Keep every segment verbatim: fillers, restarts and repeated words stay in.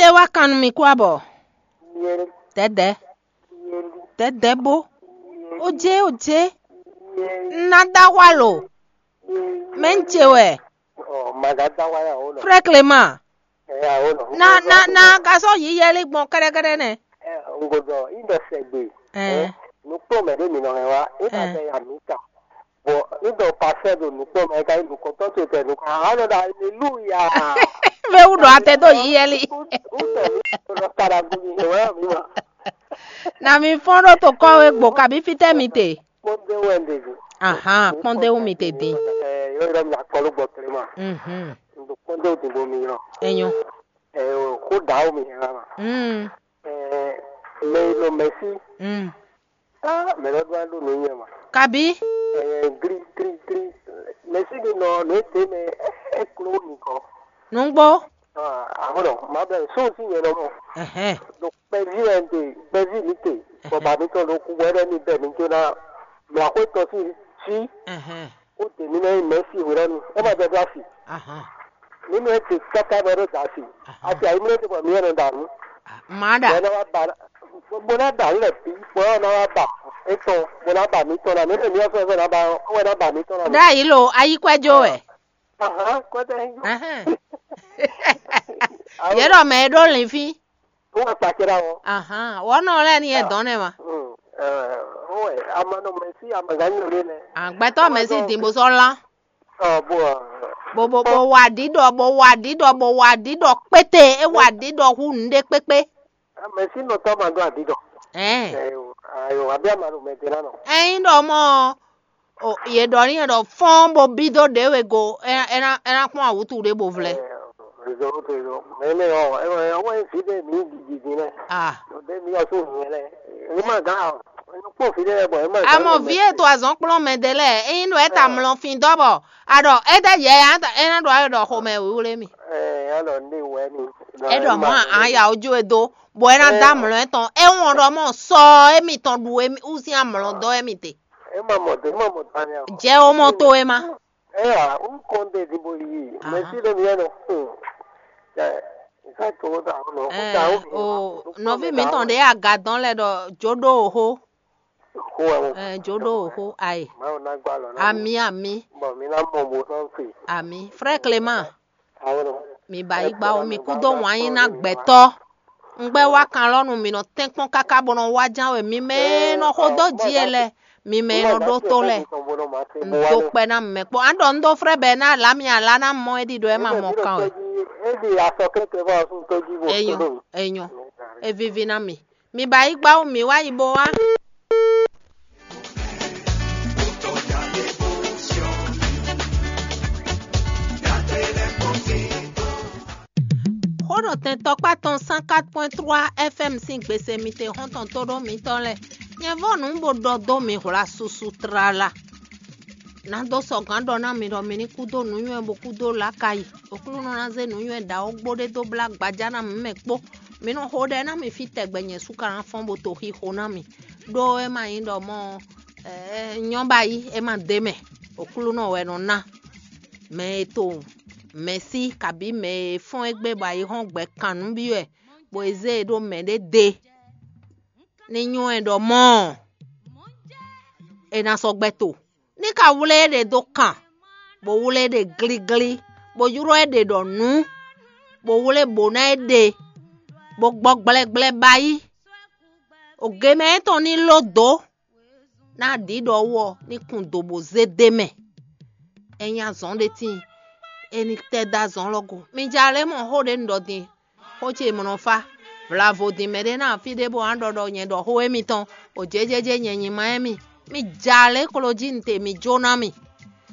É wá kan nú mì kú abɔ. Dɛ̌dɛ̌. Dɛ̌dɛ̌ bó. Ó jé, ó jé. Un ná dó axwá lo. Mɛ ń ce wɛ. Ɔ, maga dá wáyà ó nɔ. Frère Clément. Ɛ, ó nɔ. Na, na, na ka sɔ́ yiyɛ́lí gbɔn kɛ́ɖɛ́kɛ́ɖɛ́ nɛ́. Ɛ, un ko dɔ, í dɔ sɛgbe. Ɛ. Ɛ, nukpɔ́ mɛ ɖé mi nɔ hɛn wá, é ka Ɛ. Sɛ ya mi ta. Bɔ í dɔ pasɛ do nukpɔ́ mɛ ka yi nukɔntɔn to tɛ nukɔn. A nɔ da aleluya. Mɛ wú ɖɔ atɛ dó yiyɛ́lí. Ó tɔ mi ko nɔ ta da gbɔn mi hɛn wá mi ma. Na mi fɔ́n ɖó to kɔ́ wé gbo kabi fítɛ́ mi te. Kpɔ́ndé wɛ un ɖe din. Ahan, kpɔ́ndé wú mi te din. Ɛɛ, yɔ yɔ mi akɔlɔ gbɔ tlema. Mhm. Un ɖo kpɔ́ndé wú din bo mi yɔ. Enyo. Ɛɛ, o xó ɖa wú mi hɛn ma. Mm. Ɛɛ, mɛ yi nɔ mɛsi. Mm. Ah, mɛ lɔ ɖo alo nɔ nyɛ ma. Kabi. Ɛɛ, gli gli gli. Mɛsi ɖi nɔ nɔ ete mɛ ɛ kló mi kɔ. Nungbo. Ah, aho nɔ, ma bɛ so si nyɛ nɔ mɔ. Ɛhɛn. Ɖo kpɛví wɛ un ɖe, kpɛví mi te, bɔ ba mitɔn ɖo kú wɛ ɖɔ mi bɛ mi ɖó ná mlɔxwé tɔn sín cí, Ɛhɛn. Ó ɖe mi ná nyí mɛ̌si hwelɔ́nu, é ma jɛ dó asi. Ahan. Nínú é te káká bɔ é ɖó da asi. Ahan. Asi ayimlé te bɔ mi yɛ nɔ da nǔ. Má ɖa. Bɔ é ná wá ba, bó ná da nǔ lɛ bǐ, bɔ é ná wá ba étɔn, bó ná ba mitɔn ná. Nínú mi ɔ́ fɛ́fɛ́ ná ba ɔ́, é wɛ ná ba mitɔn ná. Ɖ'ayǐ lo, ayíkwɛ́jó wɛ. Ahan, kɔ́tɛ yí. Ahan. Yě ɖɔ mɛ e ɖó linfín. Wọ́n wá kpakira wɔ. Ahan, wɔ nɔ lɛ ni yɛ dɔn nɛ ma. Mm, eh, wọ́n wɛ, ama nɔ mɛ sí ama gã nyɔ lé nɛ. Agbɛtɔ mɛ sí din bó sɔ lan. Ɔ, bó, ɔ, Bo bo bo wa ɖiɖɔ, bo wa ɖiɖɔ, bo wa ɖiɖɔ kpéte, é wa ɖiɖɔ hu nǔɖé kpékpé. Mɛ sí nɔ tɔ ma dó adidɔ. Ɛn. Ayo, ayo, abi ama ɖo mɛ te na nɔ. Ɛyin ɖɔ mɔ o, yě ɖɔ n'i ɖɔ fɔ́n bo bí dó ɖě we go, é ná é ná é ná kpɔ́n awǔtu ɖé bo vlɛ́. Réseau, réseau. Mɛ nɛ ɔ, ɛ ɛ ɔwɔ fi ɖe mi didi nɛ. Ah. Ɖe mi ɔsùn nyɛ lɛ. Ɛ ma gã ɔ. Ɛ kpɔn fi ɖe bɔ ɛ ma gã. Amɔ vi e to azɔn kplɔn mɛ ɖe lɛ, eyin ɖo eta mlɔ fin dɔ bɔ aɖɔ e ɖe yɛ ya ta e na ɖo ayɔ ɖɔ xomɛ wíwlé mi. Ɛ ya ɖɔ ne wɛ ni. E ɖɔ mɔ aya ojú e do, bɔ e na da mlɔ etɔn. E wɔn ɖɔ mɔ sɔ emi tɔn ɖu emi usin amlɔ dɔ emi te. E ma mɔ do, e ma mɔ do ani. Jɛ o mɔ to e ma. Ɛ ya, un kɔn de di bo yi. Mɛ si ɖe mi yɛ nɔ. Ɛ, nka to wo ta o nɔ. Ɛ o nɔvi mi tɔn ɖe aga dɔn lɛ ɖɔ jo ɖo oho. Xó ɛ o. Ɛ jo ɖo oho ayi. Mawu ná gbá lɔ ná. Ami ami. Bɔ mi ná mɔ bo sɔn fi. Ami. Frère Clément. Awo nɔ. Mi ba yi gba o mi kú dó wǎn yí ná gbɛtɔ. Un gbɛ wá kan lɔ nu mi nɔ tɛnkpɔn káká bɔ nɔ wá ján wɛ mi mɛ nɔ xó dó ji e lɛ. Mi mɛ nɔ ɖó tó lɛ. Un dó kpɛ ná mɛ kpɔ. An ɖɔ un dó frɛ bɛ ná la mi ala ná mɔ e ɖi ɖɔ e ma mɔ kan wɛ. Eɖi asɔ kɛkɛ fɔ sun tó ji bo. Enyɔ, enyɔ. Evivi ná mi. Mi ba yi gba wú mi wá yi bo wá. Xó ɖo tɛn tɔkpá tɔn cent quatre point trois F M sín gbèsè mi te xɔ́ntɔn tó ɖó mitɔn lɛ. Nyɛ vɔ́ nǔ bó ɖɔ dó mi hwla susu tlala. Ná dó sɔgǎn ɖɔ ná mi ɖɔ mi ní kú dó nǔnywɛ́ bó kú dó lǎkayi. Oklúnɔ ná zé nǔnywɛ́ ɖǎ ó gbó ɖé dó blá gbaja ná mǐ mɛ kpó. Mi nɔ xo ɖɛ ná mi fí tɛgbɛ nyɛ sú ka ná fɔ́n bó to xixo ná mi. Ɖó é ma nyí ɖɔ mɔ nyɔ́ ba yí é ma d'é mɛ. Oklúnɔ wɛ nɔ ná mɛ e to mɛ̌ sí kabǐ mɛ e fɔ́n égbé bɔ ayǐ hɔ́n gbɛ kan nǔ byɔ́ ɛ, bɔ è zé e ɖó mɛ̌ ɖé de. Ní nywɔ́ ɛ ɖɔ mɔ̌ è nǎ sɔ́ gbɛ́ to. Ní ka wlé é ɖe dó kan, bó wlé é ɖe glíglí, bó ylɔ́ é ɖe ɖɔ nǔ, bó wlé bǒ ná é ɖe, bó gbɔ gblɛgblɛ ba yí. Ògěmɛ étɔn ní ló dǒ, ná ɖǐ ɖɔ wú ɔ́ ní kun do bó zé d'é mɛ. É nyí azɔn ɖé tíin, é ní tɛ́ dó azɔn lɔ go. Mi ja lě mɔ xó ɖě un ɖɔ din, xó ce mɔ nɔ fá. Vlavo din mɛ ɖé ná fí ɖé bó ná ɖɔ ɖɔ nyɛ ɖɔ xó émítɔn, o jějéjé nyɛ nyi ma émí. Mi ja lě klo jí un te mi jó ná mi.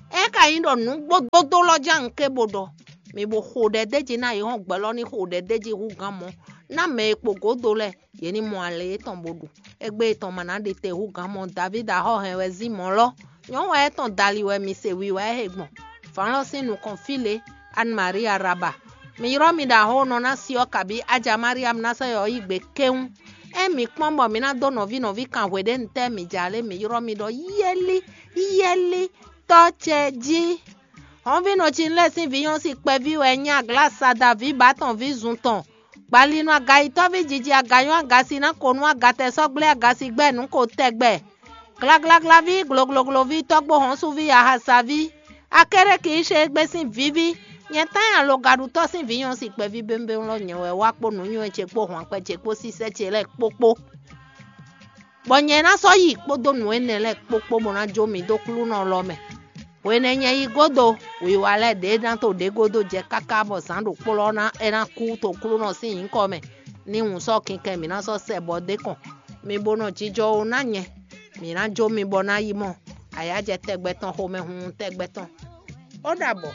É ka nyí ɖɔ nǔgbódódó lɔ ján un ké bo ɖɔ, mi bo xo ɖɛ d'é jí ná yi hɔn gbɛ lɔ ní xo ɖɛ d'é jí hú gán mɔ, ná mɛ e kpo gǒdo lɛ́ɛ, yě ní mɔ alɛ yětɔn bo ɖu. Égbé yětɔn ma ná ɖi te hú gǎn mɔ Davídi axɔ́ hɛn wɛ zín mɔ̌ lɔ. Nyɔ̌nu wɛ é tɔn dali wɛ mi se wiwa ɛ he gbɔn. Vǎn lɔ sín nukɔn fí lě, Anne Marie Araba. Mi ylɔ́ mi ɖo axɔ́ nɔ ná si ɔ́ kabí Aja Mariam ná sɔ́ yɔ yí gbe kéwún. Ée mi kpɔ́n bɔ mi ná dó nɔví nɔví kan hwe ɖé ntɛ́ mi ja lě mi ylɔ́ mi ɖɔ yɛ́lí, yɛ́lí, tɔ́ ce jí. Hɔnvínɔ Cinlɛ́ɛ sín vǐ nyɔ́ sín kpɛví wɛ nyí Aglásada ví Batɔn ví zun tɔn. Gbalinu agayitɔ́ví jiji aganyɔ́ agasi ná ko nú agatɛsɔ́gblé agasigbɛ́ nǔ ko tɛgbɛ. Glaglaglaví, gloglogloví, tɔ́gbó hɔ́nsúví, ahasaví, akérékǐ ṣe égbé sín vǐví, nyɛ tán nyi alogaɖutɔ́ sín vǐ nyɔ̌si kpɛví bémbéwún lɔ nyɛ wɛ wá kpó nǔnywɛ́ ce kpó hwankpɛ ce kpó sísɛ́ ce lɛ́ɛ kpókpó. Bɔ nyɛ ná sɔ́ yi kpódó nǔ énɛ́ lɛ́ɛ kpókpó bó ná jó mi dó klúnɔ lɔ mɛ. Hwenɛ́ nyɛ yi gódo, wǐwá lɛ́ɛ ɖě ná to ɖě gúdo jɛ káká bɔ zǎn ɖokpó lɔ ná é ná kú to klúnɔ sín nyǐkɔ mɛ. Ní wǔ sɔ́ kinkɛn mǐ ná sɔ́ sɛ bɔ dé kɔn. Mi bo nɔ jijɔ ó ná nyɛ, mǐ ná jó mi bɔ ná yi mɔ ayǎjɛ tɛgbɛ tɔn xomɛhunhun tɛgbɛ tɔn. Ó ɖabɔ.